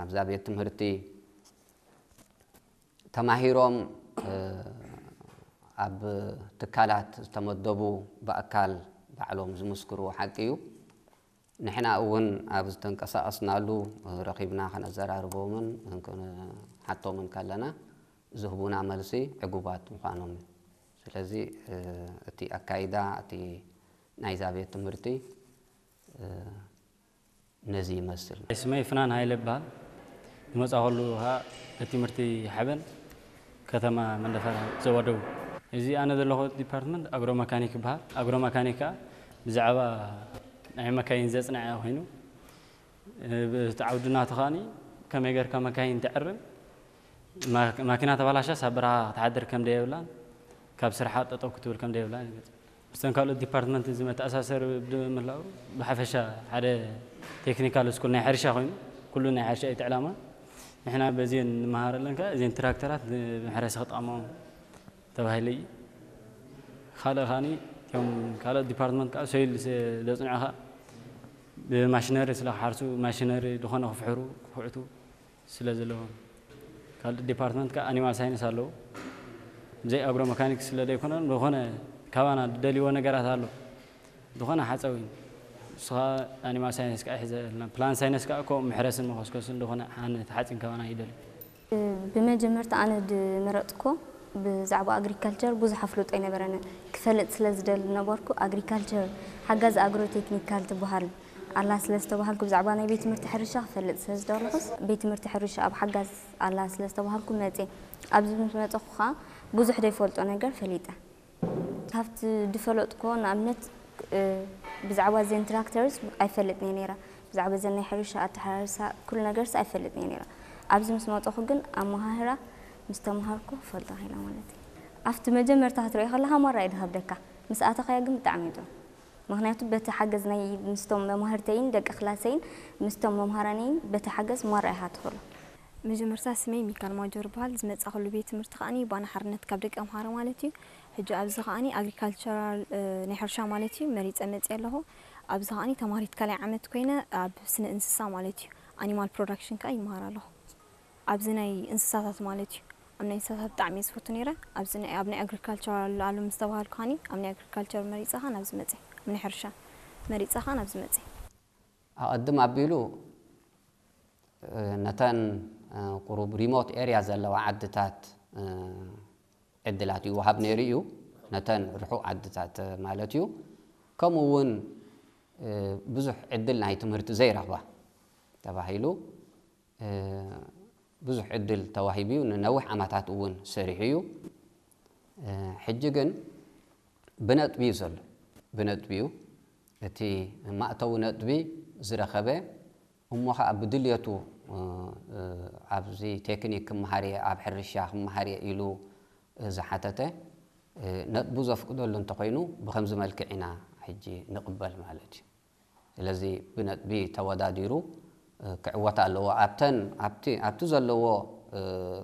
ኣብዛ ቤት ትምህርቲ ተማሂሮም ኣብ ትካላት ዝተመደቡ ብኣካል ባዕሎም ዝምስክርዎ ሓቂ እዩ። ንሕና እውን ኣብ ዝተንቀሳቐስናሉ ረኺብና ከነዘራርቦምን ክንሓቶምን ከለና ዝህቡና መልሲ ዕጉባት ምዃኖም እዩ። ስለዚ እቲ ኣካይዳ እቲ ናይዛ ቤት ትምህርቲ ነዚ ይመስል። ስመይ ፍናን ሃይለ ይበሃል። ዝመጻኸሉ ኸዓ እቲ ትምህርቲ ሓበን ከተማ መንደፈራ ዞባ ደቡብ። እዚ ኣነ ዘለኹ ዲፓርትመንት ኣግሮ መካኒክ ይበሃል። ኣግሮ መካኒክ ከኣ ብዛዕባ ናይ መካይን ዘጽንዐ ኮይኑ፣ እቲ ዓውዲ ናቱ ከኣኒ ከመይ ጌርካ መካይን ተዕርም፣ ማ-፣ ማኪና ተባላሻስ ኣብ በረኻ ክትሓድር ከም ደየብላን ካብ ስርሓ ጠጠው ክትብል ከም ደየብላን ይገልጽ። ምስተን ካልኦት ዲፓርትመንት እዚ መተኣሳሰር ብምህላው ብሓፈሻ ሓደ ቴክኒካል ስኩል ናይ ሕርሻ ኮይኑ ኩሉ ናይ ሕርሻ እዩ እቲ ዕላማ። ንሕና በዚአን ንመሃር ኣለና፣ እዚአን ትራክተራት ንመሕረሲ ክጠቕሞም ተባሂሉ እዩ። ካልእ ከኣኒ እቶም ካልኦት ዲፓርትመንት ከዓ ሶይል ዘጽንዑ ከዓ ብማሽነሪ ስለ ክሓርሱ ማሽነሪ ዝኾነ ክፍሕሩ ክኹዕቱ ስለ ዘለዎም፣ ካልእ ዲፓርትመንት ከዓ ኣኒማል ሳይንስ ኣለዉ። ብዘይ ኣግሮ መካኒክስ ስለ ዘይኮነ ዝኾነ ካባና ዝደልይዎ ነገራት ኣሎ። ዝኾነ ሓፀዊ ንስኻ ኣኒማል ሳይንስ ከዓ ይሕዘልና፣ ፕላንት ሳይንስ ከዓ ከምኡ መሕረስን መኾስኮስን ዝኾነ ሓንቲ ሓፂን ካባና ይደልዩ። ብመጀመርታ ኣነ ዝመረፅኩዎ ብዛዕባ ኣግሪካልቸር ብዙሕ ኣፍልጦ ኣይነበረንን። ክፈልጥ ስለ ዝደሊ ነበርኩ ኣግሪካልቸር ሓጋዝ ኣግሮ ቴክኒካል ትበሃል ኣላ ስለ ዝተባሃልኩ ብዛዕባ ናይ ቤት ትምህርቲ ሕርሻ ክፈልጥ ስለ ዝደለኹስ ቤት ትምህርቲ ሕርሻ ኣብ ሓጋዝ ኣላ ስለ ዝተባሃልኩ መፅየ። ኣብዚ ምስ መፀኹ ከዓ ብዙሕ ዘይፈልጦ ነገር ፈሊጠ። ካብቲ ዝፈለጥኩዎ ንኣብነት ብዛዕባ ዘን ትራክተርስ ኣይፈልጥን እየ ነይረ። ብዛዕባ ዘን ናይ ሕርሻ ኣተሓራርሳ ኩሉ ነገርስ ኣይፈልጥን እየ ነይረ። ኣብዚ ምስ መፀኹ ግን ኣመሃህራ ምስ ተምሃርኩ ክፈልጦ ክኢለ ማለት እዩ። ኣብቲ መጀመርታ ክትሪኦ ከለኻ ማራ እዩ ዝኸብደካ፣ ምስ ኣተኻዮ ግን ብጣዕሚ እዩ ጥዑም። ምኽንያቱ በቲ ሓገዝ ናይ ምስቶም መማህርተይን ደቂ ክላሰይን ምስቶም መምሃራነይን በቲ ሓገዝ ማራ ኢኻ ትኽእሎ። መጀመርታ ስመይ ሚካል ማጆር ይበሃል። ዝመጻእኩሉ ቤት ትምህርቲ ከኣኒ ባና ሓርነት ካብ ደቂ ኣምሓራ ማለት እዩ። ሕጂ ኣብዚ ከኣኒ ኣግሪካልቸራል ናይ ሕርሻ ማለት እዩ መሪጸ መጽየ ኣለኹ። ኣብዚ ከኣኒ ተማሃሪት ካልኣይ ዓመት ኮይነ ኣብ ስነ እንስሳ ማለት እዩ ኣኒማል ፕሮዳክሽን ከኣ ይመሃር ኣለኹ። ኣብዚ ናይ እንስሳታት ማለት እዩ ኣብ ናይ እንስሳታት ብጣዕሚ እየ ዝፈቱ ነይረ። ኣብዚ ናይ ኣብ ናይ ኣግሪካልቸራል ኣሎ ምስ ተባሃልኩ ከኣኒ ኣብ ናይ ኣግሪካልቸር መሪጸ ከኣ ናብዚ መጽየ ኣብ ናይ ሕርሻ መሪጸ ከኣ ናብዚ መጽየ። ኣቐድም ኣቢሉ ነተን ቁሩብ ሪሞት ኤርያ ዘለዋ ዓድታት ዕድላት ይወሃብ ነይሩ እዩ። ነተን ርሑቕ ዓድታት ማለት እዩ። ከምኡ እውን ብዙሕ ዕድል ናይ ትምህርቲ ዘይረኽባ ተባሂሉ ብዙሕ ዕድል ተዋሂቡ እዩ። ንነዊሕ ዓመታት እውን ሰሪሑ እዩ። ሕጂ ግን ብነጥቢ እዩ ዘሎ። ብነጥቢ እዩ። እቲ ማእተዊ ነጥቢ ዝረኸበ እሞ ኸዓ ብድልየቱ ኣብዚ ቴክኒክ ክመሃር እየ፣ ኣብ ሕርሻ ክመሃር እየ ኢሉ ዝሓተተ ነጥቡ ዘፍቅደሉ እንተኾይኑ ብኸምዚ መልክዕ ኢና ሕጂ ንቕበል ማለት እዩ። ስለዚ ብነጥቢ ተወዳዲሩ ክዕወት ኣለዎ። ኣብተን ኣብቲ ኣብቲ ዘለዎ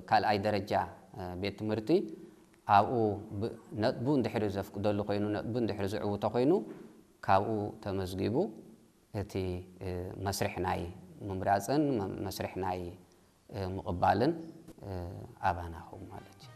ካልኣይ ደረጃ ቤት ትምህርቲ ኣብኡ ነጥቡ እንድሕሪ ዘፍቅደሉ ኮይኑ ነጥቡ እንድሕሪ ዝዕውቶ ኮይኑ ካብኡ ተመዝጊቡ እቲ መስርሕ ናይ ምምራፅን መስርሕ ናይ ምቕባልን ኣባና ኹም ማለት እዩ።